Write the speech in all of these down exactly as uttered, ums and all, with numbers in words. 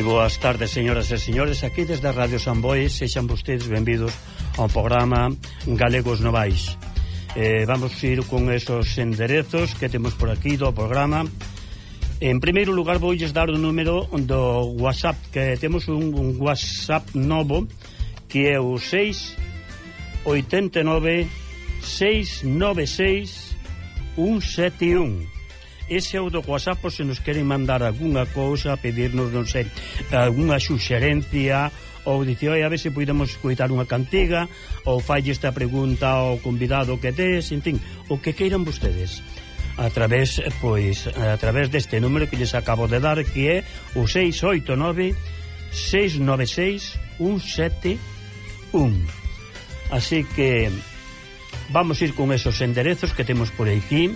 boas tardes, señoras e señores. Aquí desde Radio Sambois, sexan vostedes benvidos ao programa Galegos Novais. eh, Vamos ir con esos enderezos que temos por aquí do programa. En primeiro lugar voulles dar o número do WhatsApp, que temos un, un WhatsApp novo, que é o seis oito nove seis nove seis un sete un. Ese é o do WhatsApp, por se nos queren mandar algunha cousa, pedirnos, non sei, algunha suxerencia, ou dicir, oi, a ver se podemos escoitar unha cantiga, ou falle esta pregunta ao convidado que tes, en fin, o que queiran vostedes. A través, pois, a través deste número que lles acabo de dar, que é o seis oito nove seis nove seis un sete un. Así que vamos ir con esos enderezos que temos por aquí.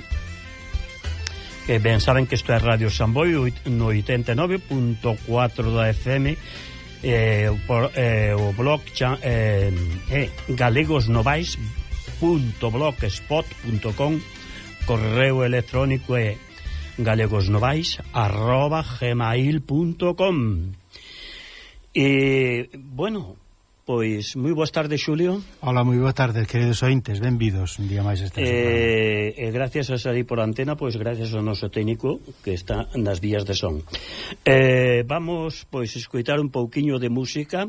Que ben saben que isto é Radio Samboio no oitenta e nove punto catro da F M, eh, por, eh, o blog cha, eh, eh, galegosnovais punto blogspot punto com, correo electrónico é galegosnovais arroba gmail punto com. E, bueno, pois, moi boas tardes, Xulio. Hola, moi boas tardes, queridos ointes, benvidos un día máis esta eh, e gracias a salir por antena, pois gracias ao noso técnico que está nas vías de son. eh, Vamos, pois, escoitar un pouquiño de música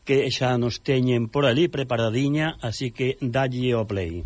que xa nos teñen por ali preparadiña, así que dalle o play.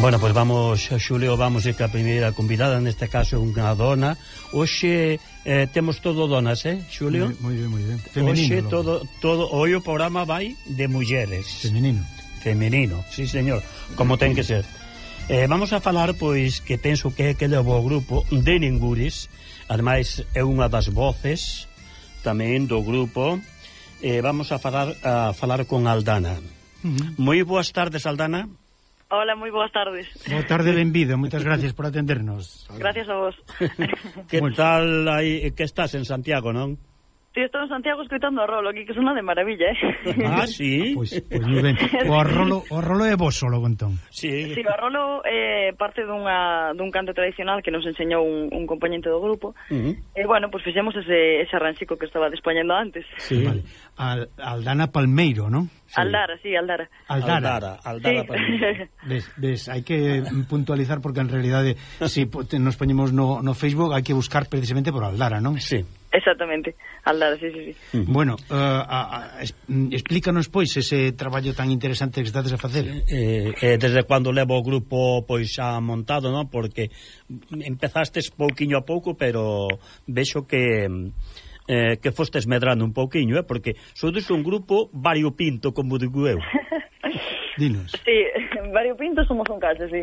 Bueno, pois pues vamos, Xulio, vamos ir ca primeira convidada, neste caso unha dona. Hoxe eh, temos todo donas, eh, Xulio? Moi ben, moi ben. Femenino. Hoxe todo, todo, hoxe o programa vai de mulleres. Femenino. Femenino, sí, señor, como ten que ser. Eh, vamos a falar, pois, que penso que é que levou o grupo de Ninguris, ademais é unha das voces tamén do grupo. Eh, vamos a falar, a falar con Aldana. Uh-huh. Moi boas tardes, Aldana. Hola, moi boas tardes. Boa tarde, benvido, moitas gracias por atendernos. Gracias a vos. Que tal aí, que estás en Santiago, non? Si, estou en Santiago escoitando a Rolo, aquí que sona de maravilla, eh? Ah, sí? Pois, pois moi ben. O Rolo, o Rolo é vos solo, entón. Sí. Si, o Rolo é parte dunha, dun canto tradicional que nos enseñou un, un compañente do grupo. Uh-huh. E, bueno, pois fixemos ese, ese arranxico que estaba dispoñendo antes. Sí. Vale. Al, Aldana Palmeiro, non? Sí. Aldara, sí, Aldara. Aldara, Aldara, Aldara sí. Palmeiro. Ves, ves, hai que puntualizar porque en realidade se si nos poñemos no, no Facebook hai que buscar precisamente por Aldara, non? Sí. Exactamente, Aldara, sí, sí, sí. Uh-huh. Bueno, uh, a, a, es, explícanos, pois, ese traballo tan interesante que estades a facer. Eh, eh, desde cando levo o grupo, pois, xa montado, non? Porque empezastes pouquiño a pouco, pero vexo que... Eh, que fostes medrando un pouquiño, eh? Porque sodes un grupo variopinto, como digo eu. Dinos. Sí, variopinto somos un caso, sí.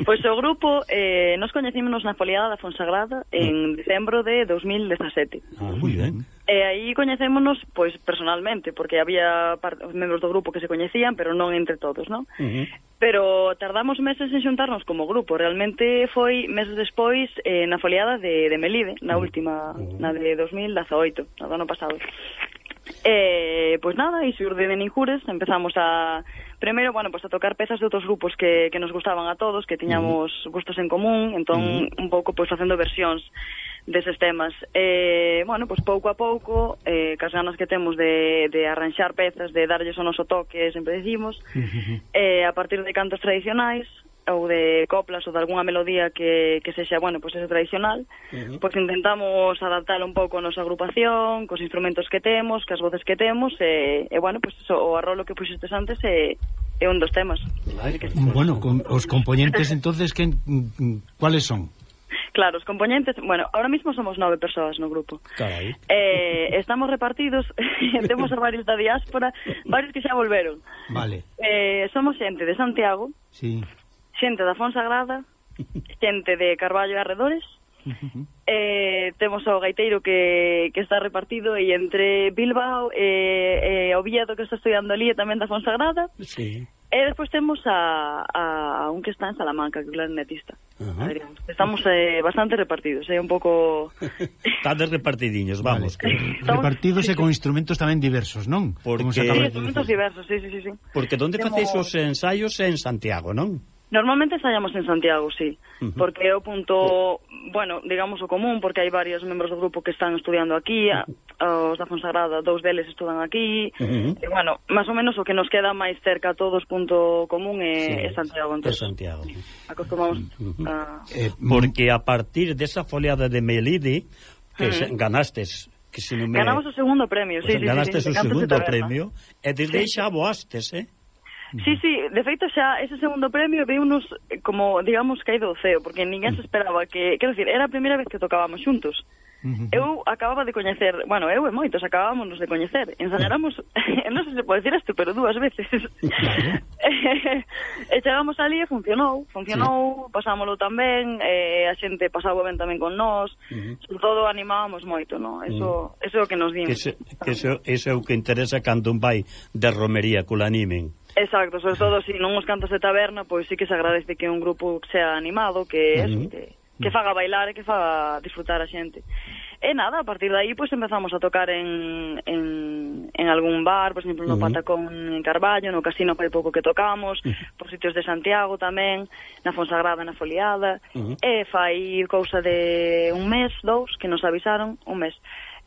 Pois o grupo, eh, nos coñecímonos na foliada da Fonsagrada en decembro de dos mil dezasete. Ah, moi ben. E aí coñecémonos, pois, personalmente, porque había membros do grupo que se coñecían, pero non entre todos, non? Uh-huh. Pero tardamos meses en xuntarnos como grupo. Realmente foi meses despois eh, na foliada de, de Melide, na última, uh-huh. na de dos mil dezaoito, no ano pasado. Eh, pois nada, e xurde de Ninjures, empezamos a... Primeiro, bueno, pues a tocar pezas de outros grupos que, que nos gustaban a todos, que tiñamos uh-huh. gustos en común, entón uh-huh. un pouco pois facendo versións deses temas. Eh, bueno, pois pouco a pouco, eh, cas ganas que temos de, de arranxar pezas, de darlles o noso toque, sempre decimos, uh-huh. eh, a partir de cantos tradicionais, ou de coplas ou de algunha melodía que, que sexa, bueno, pois ese tradicional, uh-huh. pois intentamos adaptar un pouco a nosa agrupación, cos instrumentos que temos, cas voces que temos, e, e bueno, pois eso, o arrolo que puxestes antes é, é un dos temas. Ay, que, bueno, con, os componentes entonces, que, cuáles son? Claro, os componentes, bueno, ahora mismo somos nove persoas no grupo. Carai. Eh, estamos repartidos, temos a varios da diáspora, varios que xa volveron. Vale. Eh, somos xente de Santiago, sí. xente da Fonsagrada, xente de Carballo e arredores, uh-huh. eh, temos o gaiteiro que, que está repartido, e entre Bilbao e, e Oviedo, que está estudiando ali, e tamén da Fonsagrada. Sí. E despois temos a, a, a un que está en Salamanca, que é o clarinetista. Uh-huh. Estamos eh, bastante repartidos, é eh, un pouco... Estades repartidiños, vamos. Vale. Que... Repartidos e con instrumentos tamén diversos, non? Porque... Sí, instrumentos diversos, sí, sí, sí, sí. Porque onde Temo... facéis os ensaios en Santiago, non? Normalmente ensaiamos en Santiago, sí, uh-huh. porque é o punto, bueno, digamos o común, porque hai varios membros do grupo que están estudiando aquí, uh-huh. os da Fonsagrada, dous deles estudan aquí, uh-huh. e bueno, máis ou menos o que nos queda máis cerca a todos, punto común, é, sí, é Santiago. Entonces, é Santiago. Acostumamos uh-huh. a... Eh, porque a partir desa foliada de Melide, que uh-huh. ganastes... Que se non me... Ganamos o segundo premio, sí, pues sí, ganastes sí, sí, o segundo premio, e desde aí xa voastes, eh? Sí, sí, de feito xa ese segundo premio veunos como, digamos, caído do ceo, porque ninguén se esperaba que, quero dicir, era a primeira vez que tocábamos xuntos. Uh-huh. Eu acababa de coñecer, bueno, eu e moitos acabábamos de coñecer, ensayáramos, non sei se pode decir isto, pero dúas veces. E chegamos ali e funcionou, funcionou, sí. Pasámoslo tamén, eh, a xente pasaba ben tamén con nós, uh-huh. sobre todo animábamos moito, no? Eso, uh-huh. eso é o que nos dimos. Que, se, que eso, eso é o que interesa cando un vai de romería, que o animen. Exacto, sobre todo se si non os cantos de taberna, pois sí que se agradece que un grupo sea animado, que uh-huh. eso, que, que faga bailar e que faga disfrutar a xente. E nada, a partir de aí pois empezamos a tocar en, en, en algún bar, por exemplo no uh-huh. Patacón en Carballo, no Casino fai pouco que tocamos, uh-huh. por sitios de Santiago tamén, na Fonsagrada, na Foliada, uh-huh. e fai cousa de un mes, dous, que nos avisaron, un mes,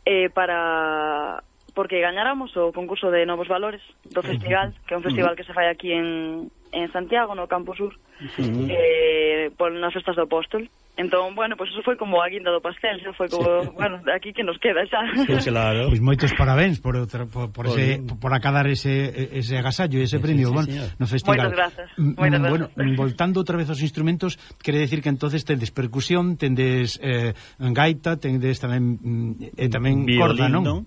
eh, para... porque gañáramos o concurso de Novos Valores do festival, que é un festival que se fai aquí en, en Santiago, no Campo Sur, uh-huh. eh, por nas festas do Apóstol. Entón, bueno, pois pues eso foi como a guinda do pastel, xa foi como, sí. bueno, aquí que nos queda xa. Sí, claro. Pois pues moitos parabéns por outra, por, por, por, ese, por acabar ese, ese agasallo e ese sí, premio, sí, sí, bueno, no festival. Moitas grazas. Moitas bueno, grazas. Voltando outra vez aos instrumentos, quere decir que entonces tendes percusión, tendes eh, gaita, tendes tamén eh, tamén violín, corda, non? non?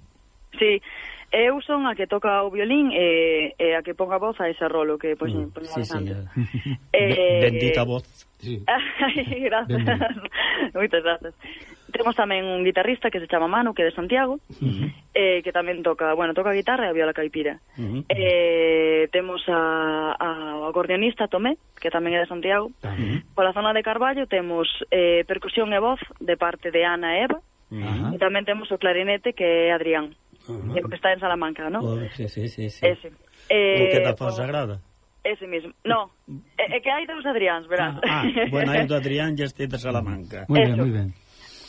Sí. Eu son a que toca o violín e, e a que ponga voz a ese rolo que pois mm, sí, sí, eh, bendita voz. Sí. Ay, gracias. Moitas grazas. Temos tamén un guitarrista que se chama Manu, que é de Santiago, uh-huh. eh, que tamén toca, bueno, toca a guitarra e a viola caipira. Uh-huh. Eh, temos a, a, o acordeonista Tomé, que tamén é de Santiago. Uh-huh. Pola zona de Carballo temos eh, percusión e voz de parte de Ana e Eva. Uh-huh. E tamén temos o clarinete, que é Adrián. Uh-huh. Que está en Salamanca, ¿no? Oh, sí, sí, sí, sí. Ese. Eh, o que da Fonsagrada? Ese mismo. No, é, é que hai dous Adriáns, verás. Ah, ah, bueno, hai do Adrián e este de Salamanca. Muy ben, muy ben.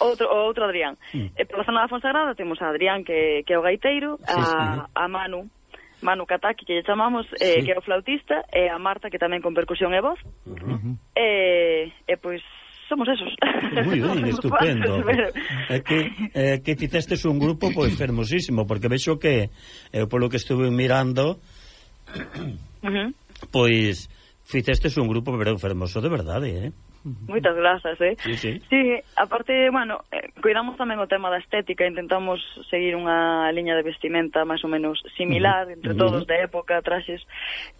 Outro, outro Adrián. Mm. E pola zona da Fonsagrada temos a Adrián, que, que é o gaiteiro, sí, a, sí. a Manu, Manu Kataki, que lle chamamos, eh, sí. que é o flautista, e a Marta, que tamén con percusión e voz. Uh-huh. E, e pois... somos esos. Moi ben, estupendo. É que, é que fizestes un grupo pois fermosísimo, porque vexo que eu polo que estuve mirando uh-huh. pois fizestes un grupo pero fermoso de verdade, eh? Moitas grazas, eh? Sí, sí. Sí, aparte, bueno, eh, cuidamos tamén o tema da estética, intentamos seguir unha liña de vestimenta máis ou menos similar, uh-huh. entre todos, uh-huh. de época, traxes.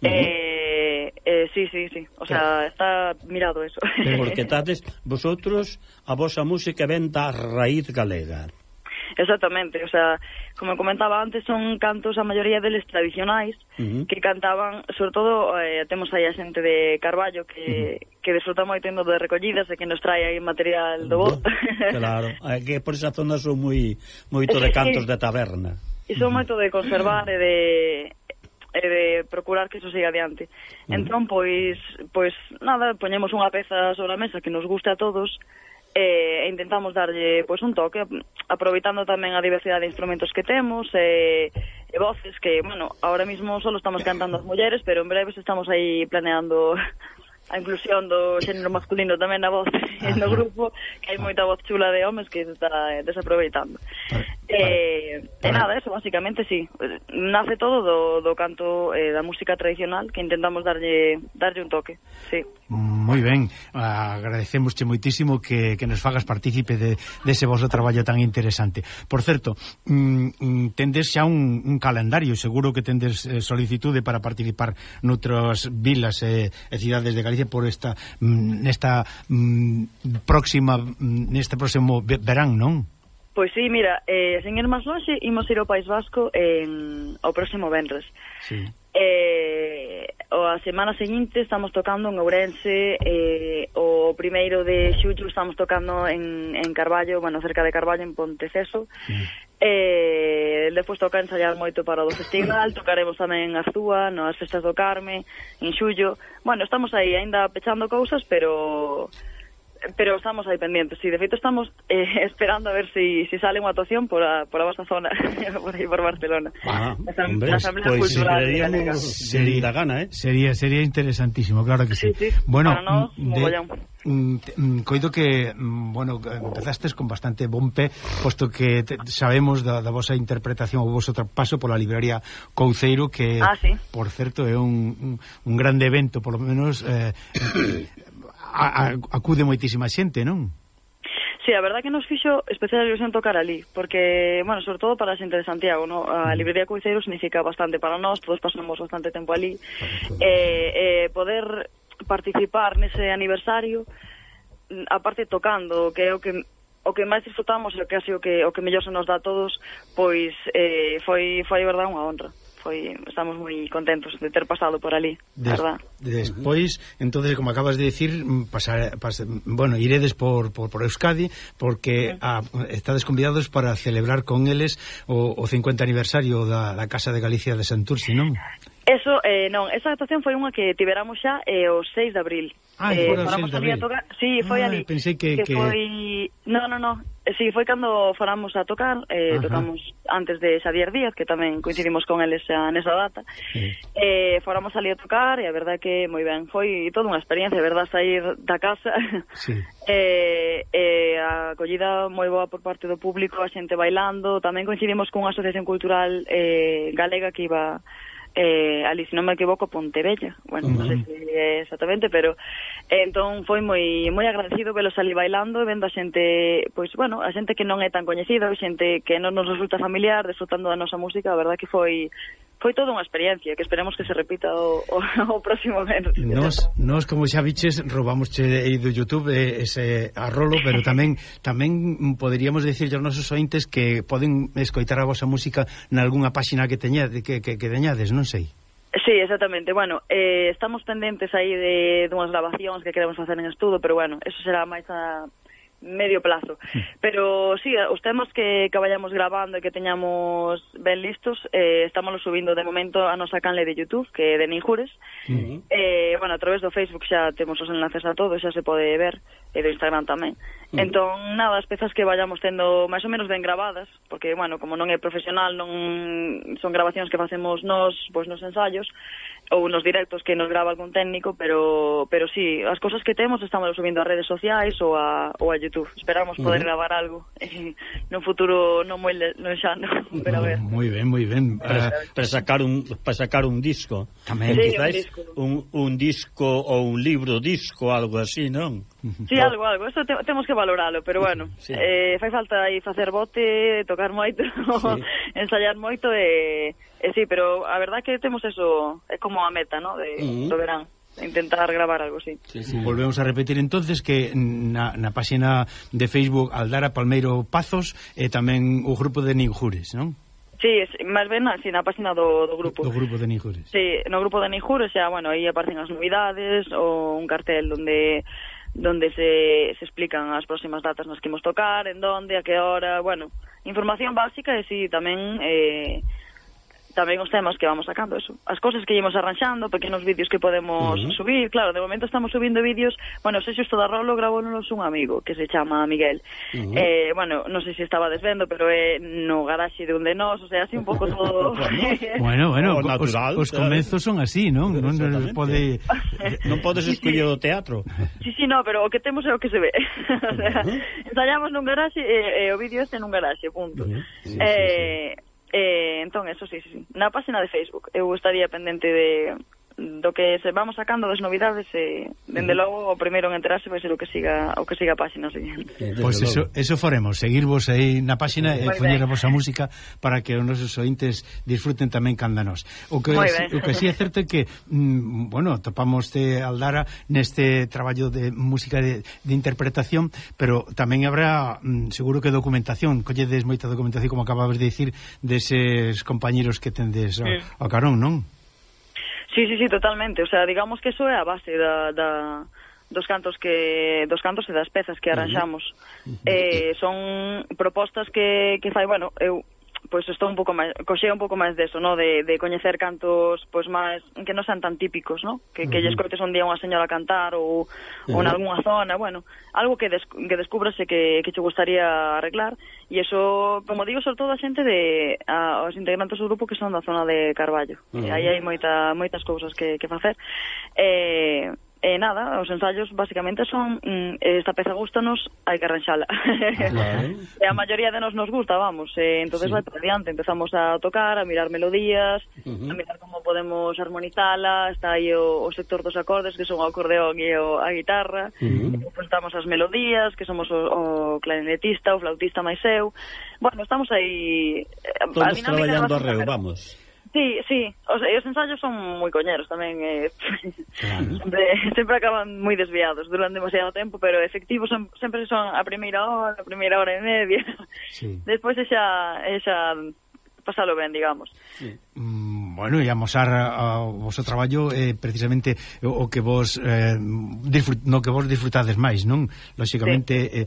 Uh-huh. Eh, eh, sí, sí, sí. O sea, está mirado eso. Porque tades, vosotros, a vosa música ven da raíz galega. Exactamente, o sea, como comentaba antes, son cantos a maioría deles tradicionais, uh-huh. que cantaban, sobre todo, eh, temos aí a xente de Carballo que, uh-huh. que desfruta moito indo de recollidas e que nos trae aí material do bo. Claro, é que por esa zona son moi moito de cantos de taberna. E son moito de conservar e de e de procurar que iso siga adiante. Uh-huh. Entón, pois, pois nada, poñemos unha peza sobre a mesa que nos guste a todos e intentamos darlle pois un toque, aproveitando tamén a diversidade de instrumentos que temos e, e voces que, bueno, ahora mismo solo estamos cantando as mulleres, pero en breves estamos aí planeando a inclusión do xénero masculino tamén na voz no grupo, que hai moita voz chula de homes que se está desaproveitando. E, e nada, eso, basicamente, sí. Nace todo do, do canto eh, da música tradicional, que intentamos darlle darlle un toque, sí. Moi ben, agradecemosche moitísimo que, que nos fagas partícipe de, de ese vosso traballo tan interesante. Por certo, mm, tendes xa un, un calendario, seguro que tendes eh, solicitude para participar noutras vilas e eh, cidades de Galicia por esta nesta mm, próxima neste próximo verán, non? Pois sí, mira, eh, sen ir máis longe, imos ir ao País Vasco en, ao próximo venres. Sí. Eh, a semana seguinte estamos tocando en Ourense, eh, o primeiro de xullo estamos tocando en, en Carballo, bueno, cerca de Carballo, en Ponteceso. Sí. Eh, despois toca ensayar moito para o do festival, tocaremos tamén en Arzúa, nas festas do Carme, en xullo. Bueno, estamos aí ainda pechando cousas, pero... pero estamos aí pendientes, sí, de feito estamos eh, esperando a ver si, si sale unha actuación por a, por a vosa zona, por aí por Barcelona. Ah, hombre, pois pues, sería da gana, eh? Sería, sería interesantísimo, claro que sí. Sí, sí. Bueno, para nós, de, coido que, bueno, empezastes con bastante bon pé, posto que te, sabemos da, da vosa interpretación o voso paso pola librería Couceiro, que, ah, sí. por certo, é un, un, un grande evento, por lo menos... Eh, A, a, acude moitísima xente, non? Sí, a verdad que nos fixo especial ilusión tocar ali, porque, bueno, sobre todo para a xente de Santiago, ¿no? A librería Couceiro significa bastante para nós, todos pasamos bastante tempo ali, eh, eh, poder participar nese aniversario, aparte tocando, que é o que o que máis disfrutamos, e que así o que o que mellor se nos dá a todos, pois eh, foi foi verdade unha honra. Foi, estamos moi contentos de ter pasado por ali, Des, verdad? Despois, entonces, como acabas de decir, pasar, pasar, bueno, iredes por, por, por Euskadi, porque sí. a, estades convidados para celebrar con eles o, o cincuenta aniversario da, da Casa de Galicia de Santurce, non? Eso, eh, non, esa actuación foi unha que tiveramos xa eh, o seis de abril. Ah, eh, foi o seis de abril. Tocar... Sí, foi ah, ali. Pensei que... que, que... foi... No, no, no. Sí, foi cando foramos a tocar, eh, tocamos antes de Xavier Díaz, que tamén coincidimos con eles xa nesa data. Sí. Eh, foramos ali a tocar e a verdade que moi ben. Foi toda unha experiencia, a verdade, sair da casa. Sí. eh, eh, a acollida moi boa por parte do público, a xente bailando. Tamén coincidimos con unha asociación cultural eh, galega que iba... Eh, ali, se non me equivoco, Pontevella, bueno, uh-huh. non sei se é exactamente, pero eh, entón foi moi moi agradecido velos ali bailando e vendo a xente, pois, bueno, a xente que non é tan coñecida, a xente que non nos resulta familiar, disfrutando da nosa música, a verdad que foi foi toda unha experiencia, que esperemos que se repita o, o, o próximo mes. Nos, nos, como xa biches, robamos aí do YouTube ese arrolo, pero tamén tamén poderíamos dicir aos nosos ointes que poden escoitar a vosa música nalgúna páxina que teñades, que, que, que teñades, non sei. Sí, exactamente. Bueno, eh, estamos pendentes aí de, de unhas grabacións que queremos facer en estudo, pero bueno, eso será máis a medio plazo. Pero sí, os temas que, que vayamos grabando e que teñamos ben listos, eh, estámoslo subindo de momento a nosa canle de YouTube, que é de Ninjures. Uh-huh. eh, bueno, a través do Facebook xa temos os enlaces a todo, xa se pode ver, e do Instagram tamén. Uh-huh. Entón, nada, as pezas que vayamos tendo máis ou menos ben grabadas, porque, bueno, como non é profesional, non son grabacións que facemos nós, pois nos ensayos, ou nos directos que nos grava algún técnico, pero pero sí, as cousas que temos estamos subindo a redes sociais ou a, ou a YouTube. Esperamos poder uh-huh. gravar algo eh, nun futuro non moi non xa, no, pero a ver. Moi ben, moi ben. Para, para sacar un para sacar un disco. Tamén sí, quizás un disco. Un, un disco ou un libro disco, algo así, non? Sí, algo, algo. Eso te, temos que valoralo, pero bueno, sí. eh, fai falta aí facer bote, tocar moito, sí. ensayar moito e, e sí, pero a verdad que temos eso, é como a meta, ¿no? De, uh-huh. do verán. intentar gravar algo así. Sí, sí. Volvemos a repetir entonces que na, na página de Facebook Aldara Palmeiro Pazos e tamén o grupo de Ninjures, non? Sí, máis ben así na página do, do grupo. Do grupo de Ninjures. Sí, no grupo de Ninjures, xa, bueno, aí aparecen as novidades ou un cartel onde donde se, se explican as próximas datas nas que imos tocar, en donde, a que hora, bueno, información básica e si tamén eh, tamén os temas que vamos sacando, eso, as cosas que ímos arranxando, pequenos vídeos que podemos uh -huh. subir, claro, de momento estamos subindo vídeos, bueno, sei xusto da Rolo gravónos un amigo que se chama Miguel, uh -huh. eh, bueno, non sei se estaba desvendo, pero é no garaxe de un de nós, o sea, así un pouco todo... bueno, bueno, oh, natural, os, os comenzos son así, non? Non pode... non podes escoller o teatro. Sí, sí, no, pero o que temos é o que se ve. O sea, uh -huh. ensayamos nun garaxe e, e o vídeo este nun garaxe, punto. Uh -huh. sí, eh... Sí, sí. Eh, entón, eso sí, sí, sí. Na página de Facebook eu estaría pendente de do que se vamos sacando das novidades e, dende logo, o primeiro en enterarse vai ser o que siga o que siga a página seguinte. Pois pues eso, eso faremos, seguirvos aí na página e poñer a vosa música para que os nosos ointes disfruten tamén canda nós. O que, o que sí é certo é que mm, bueno, topamos de Aldara neste traballo de música de, de interpretación, pero tamén habrá mm, seguro que documentación, colledes moita documentación, como acababas de dicir, deses compañeros que tendes ao, mm. ao carón, non? Sí, sí, sí, totalmente, o sea, digamos que eso é a base da, da, dos cantos que dos cantos e das pezas que arranxamos. Uh -huh. eh, son propostas que, que fai, bueno, eu pois estou un pouco máis, coxea un pouco máis deso, no, de, de coñecer cantos pois máis que non sean tan típicos, no, que, uh -huh. que lle escoites un día unha señora cantar ou, uh -huh. ou en algunha zona, bueno, algo que, des, que descubrase que, que che gustaría arreglar, e iso, como digo, sobre todo a xente de a, os integrantes do grupo que son da zona de Carballo. Uh -huh. Aí hai moita, moitas cousas que, que facer. Eh, E nada, os ensaios basicamente son mm, esta peza gustanos, hai que arranxala. Claro. E a maioría de nos nos gusta, vamos, e entonces sí. vai por diante, empezamos a tocar, a mirar melodías, uh -huh. a mirar como podemos armonizala, está aí o, o sector dos acordes, que son o acordeón e o, a guitarra, uh -huh. e estamos as melodías, que somos o, o clarinetista, o flautista máis eu. Bueno, estamos aí... Todos traballando arreo, vamos. Sí, sí, o sea, os ensaios son moi coñeros tamén, eh, claro. sempre, sempre acaban moi desviados, duran demasiado tempo, pero efectivos son, sempre son a primeira hora, a primeira hora e media, sí. Despois é xa, é xa pasalo ben, digamos. Sí. Mm, bueno, e amosar o vosso traballo é eh, precisamente o, o que vos eh, disfrut, no que vos disfrutades máis, non? Lóxicamente, sí. eh,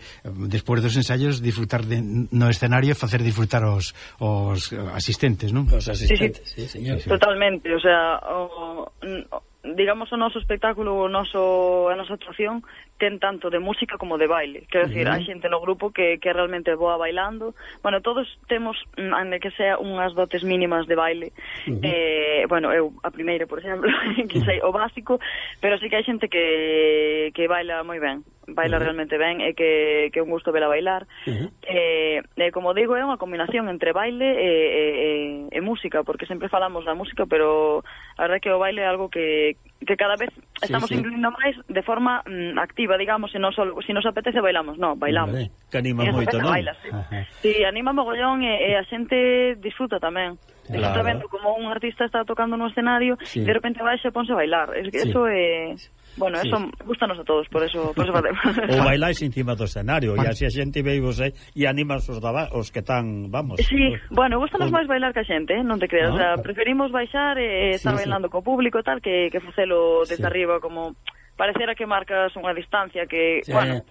despois dos ensaios, disfrutar de, no escenario e facer disfrutar os, os asistentes, non? Os asistentes, sí, sí, señor. Totalmente, o sea, o, o, digamos, o noso espectáculo, o noso, a nosa actuación ten tanto de música como de baile. Quero dicir, uh -huh. hai xente no grupo que, que realmente boa bailando. Bueno, todos temos, ande que sea, unhas dotes mínimas de baile. Uh -huh. eh, bueno, eu, a primeira, por exemplo, que sei o básico, pero sí que hai xente que, que baila moi ben. Baila uh -huh. realmente ben e que, que é un gusto vela bailar. Uh -huh. eh, eh, como digo, é unha combinación entre baile e, e, e, e música, porque sempre falamos da música, pero a verdade é que o baile é algo que, que cada vez estamos sí, sí. incluindo máis de forma mm, activa, digamos, se non só si nos apetece bailamos, no, bailamos. Vale, que anima moito, non? Baila, sí. sí, anima mogollón e, e a xente disfruta tamén. Claro. Está vendo como un artista está tocando no escenario e sí. de repente vai e ponse a bailar. Es que sí. Eso é... Bueno, sí. Eso gustanos a todos, por eso, por eso facemos. Ou bailáis encima do escenario, e así a xente veivos aí e animas os, daba, os que están, vamos. Sí, bueno, gustanos máis bailar que a xente, eh? Non te creas, no, o sea, preferimos baixar e estar sí, bailando sí. co público tal que, que facelo desde sí. arriba, como parecera que marcas unha distancia que, sí. bueno...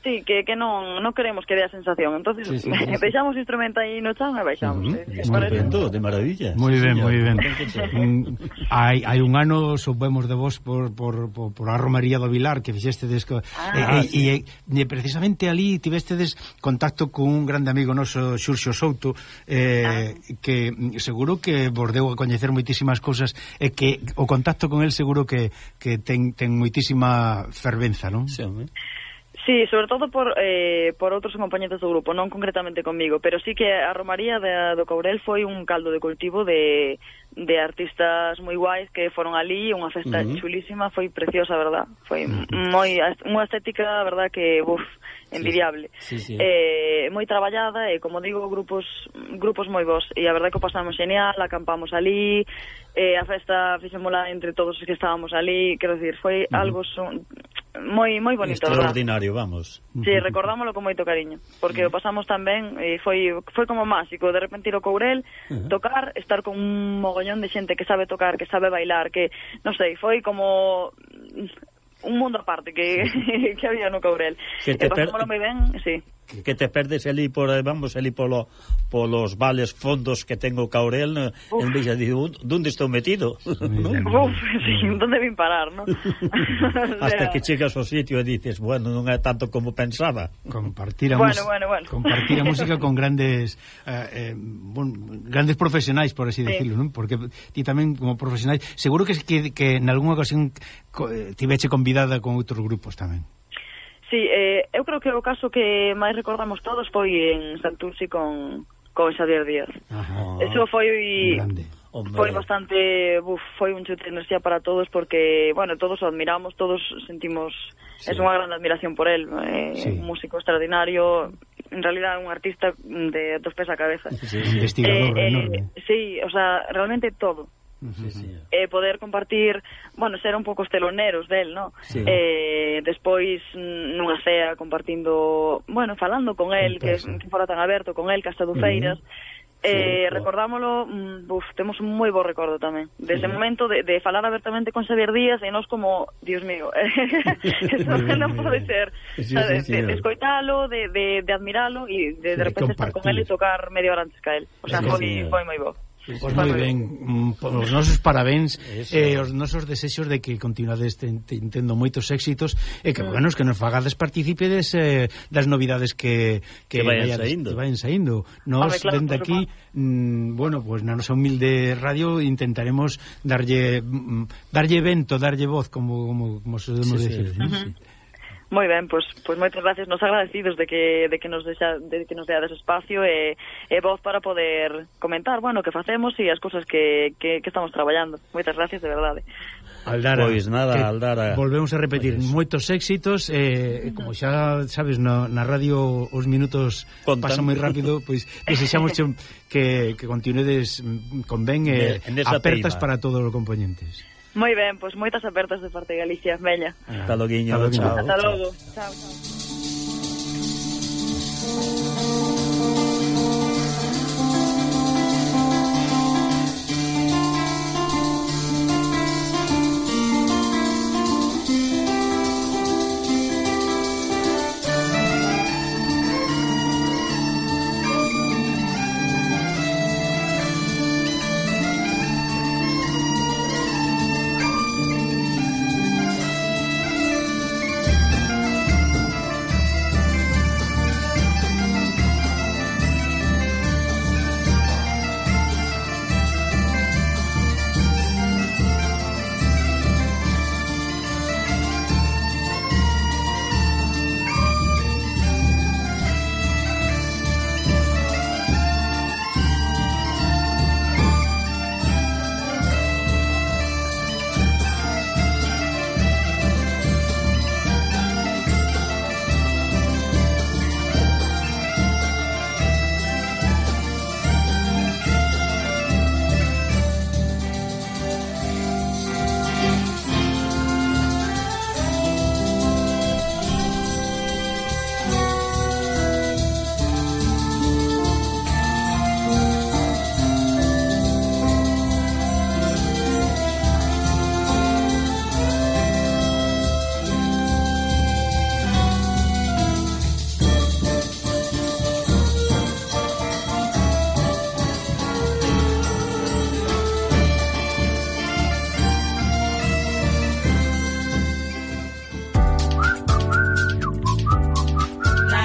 Sí, que, que non, non queremos que dé a sensación. Entonces, sí, sí, sí. deixamos o instrumento aí no chan e baixamos. Uh -huh. eh, moi ben, todo, de maravilla. Moi ben, moi ben. hai, hai un ano soubemos de vos por, por, por, por a romería do Vilar que fixestedes co, ah, e, sí. e, e, e precisamente ali tivestedes contacto con un grande amigo noso, Xurxo Souto, eh, ah. que seguro que vos deu a coñecer moitísimas cousas e que o contacto con el seguro que, que ten, ten moitísima fervenza, non? Sí, hombre. Sí, sobre todo por eh, por outros compañeros do grupo, non concretamente comigo, pero sí que a romaría de, do Courel foi un caldo de cultivo de, de artistas moi guais que foron ali, unha festa uh-huh. chulísima, foi preciosa, verdad? Foi uh-huh. moi unha estética, verdad, que buf, envidiable. Sí, sí, sí. Eh, moi traballada e, como digo, grupos grupos moi bons. E a verdad que o pasamos genial, acampamos ali, eh, a festa fixémola entre todos os que estábamos ali, quero dicir, foi uh-huh. algo son, moi moi bonito, extraordinario, verdad? Vamos. Sí, recordámoslo con moito cariño, porque uh-huh. o pasamos tan ben e foi foi como máxico, de repente ir ao Courel, uh-huh. tocar, estar con un mogollón de xente que sabe tocar, que sabe bailar, que, non sei, foi como un mundo aparte que, que había no Courel. Que te e pasámoslo moi ben, sí. Que, que te perdes ali por, vamos, ali polo, polos vales fondos que tengo Caurel, Uf. en vez de decir, ¿dónde estou metido? ¿No? Uf, sí, ¿dónde vim parar, no? Hasta o sea... que chegas ao sitio e dices, bueno, non é tanto como pensaba. Compartir a, bueno, bueno, bueno. compartir a música con grandes eh, eh, bon, grandes profesionais, por así sí. decirlo, ¿no? Porque ti tamén como profesionais, seguro que, que, que en algunha ocasión tiveche convidada con outros grupos tamén. Sí, eh, eu creo que o caso que máis recordamos todos foi en Santurce con, con Xavier Díaz. Ajá. Eso foi grande. Foi bastante, buf, foi un chute de enerxía para todos porque, bueno, todos o admiramos, todos sentimos, sí. es unha gran admiración por él, eh, sí. un músico extraordinario, en realidad un artista de dos pés a cabeza. Sí, un investigador eh, enorme. Eh, sí, o sea, realmente todo. Sí, sí. Eh, poder compartir, bueno, ser un pouco os teloneros del, ¿no? Sí. Eh, despois nunha cea compartindo, bueno, falando con el, que, que fora tan aberto con el, que hasta do Feiras. Uh-huh. Eh, sí, recordámoslo, uf, temos un moi bo recordo tamén desde o sí. momento de, de falar abertamente con Xavier Díaz e nos como, Dios mío, eso non pode ser, sí, sí, sí, de, de escoitalo, de, de, de admiralo e de, de repente estar con el e tocar media hora antes que el, o sea, sí, foi, sí, foi moi bo. Pois pues moi ben, os nosos parabéns e eh, os nosos desexos de que continuades tendo moitos éxitos e que, mm. bueno, que nos fagades partícipedes eh, das novidades que, que, que vayan saindo. Que vayan saindo. Nos, claro, dende aquí, mm, bueno, pues na nosa humilde radio intentaremos darlle mm, darlle vento, darlle voz, como, como, como podemos sí, decir. Sí, ¿no? Uh-huh. Sí. Moi ben, pois pues, pues moitas gracias, nos agradecidos de que de que nos deixa, de que nos deades espacio e, e voz para poder comentar, bueno, que facemos e as cousas que, que, que estamos traballando. Moitas gracias, de verdade. Aldara, pois nada, Aldara. Volvemos a repetir, pues moitos éxitos, eh, como xa sabes, no, na radio os minutos Contan. pasan moi rápido, pois desexamos que, que continuedes con ben e eh, apertas para todos os componentes. Moi ben, pois moitas apertas de parte de Galicia, Mella. Ata loguiño, chao. Ata logo. Chao, chao.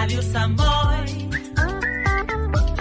Radio Sambo.